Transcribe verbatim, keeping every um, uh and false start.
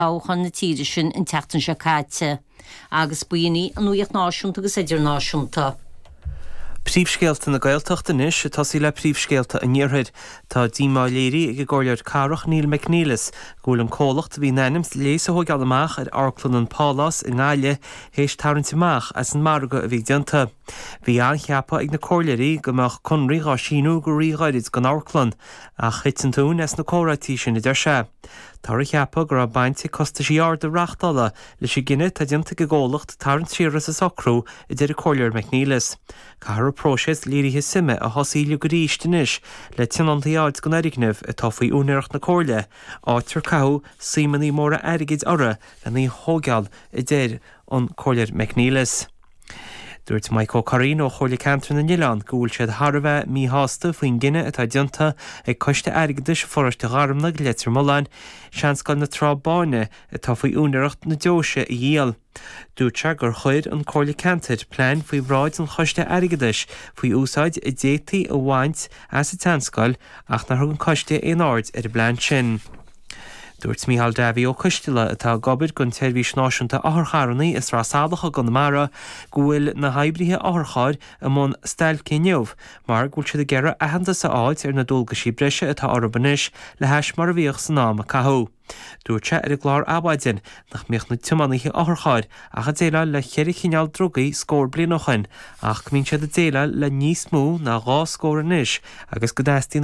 Toghchán na tíre sin an tseachtain seo caite, agus b'in í an nuacht náisiúnta agus idirnáisiúnta. Príomhscéalta na Gaeltachta anois ag tosaí le príomhscéalta an Iarthair. Tá díomá léirithe ag an gcomhairleoir cathrach Neil McNeilis go bhfuil an comhlacht a bhí in ainm léas a thógáil amach ar Amharclann an Pálás i nGaillimh théis tarraingt amach as an margadh a bhí déanta. Bhí an-cheapadh ag na comhairleoirí go mbeadh conradh á síniú go ríghairid don amharclann, ach thit an tóin as na comhráití sin a deir sé. Táthar a cheapadh go raibh baint ag costaisí arda reachtála leis an gcinneadh atá déanta ag an gcomhlacht tarraingt siar as an socrú a deir an comhairleoir McNeilis. Caithfear an próiseas léirithe suime a thosaí uilig arís anois le tionóntaí a fháil don fhoirgneamh atá faoi úinéireacht na Comhairle, áit ar caitheadh suimeanna móra airgid orthu lena thógáil a deir an comhairleoir McNeilis. Dúirt Mike Ó Curraoin ó Chomhairle Ceantar na nOileán go bhfuil siad thar a bheith míshásta faoin gcinneadh atá déanta ag Coiste Airgeadais Pharóiste Gharumna Leitir Mealláin, Seanscoil na Trá Báine atá faoi úinéireacht na deoise a dhíol. Dúirt sé gur chuir an Comhairle Ceantair plean faoi bhráid an Choiste Airgeadais faoi úsáid a d'fhéadfaí a bhaint as an tseanscoil ach nár thug an coiste aon aird ar an bplean sin. Dúirt Micheál Davy Ó Coisteala atá ag obair don tSeirbhís Náisiúnta Otharcharranna i Sraith Salach i gConamara go bhfuil na hoibrithe otharchairr i mbun stailce inniu mar go bhfuil siad ag iarraidh aitheantas a fháilt ar na dualgaisí breise atá orthu anois le hais mar a bhíodh san am a caitheadh. Dúirt sé ar an gclár Adhmhaidin nach mbíodh na tiománaithe otharchairr ach ag déileáil le ceithre chineál drugaí scór bliain ó shin ach go mbíonn siad ag déileáil le níos mó ná dhá scór anois agus go dteastaíonn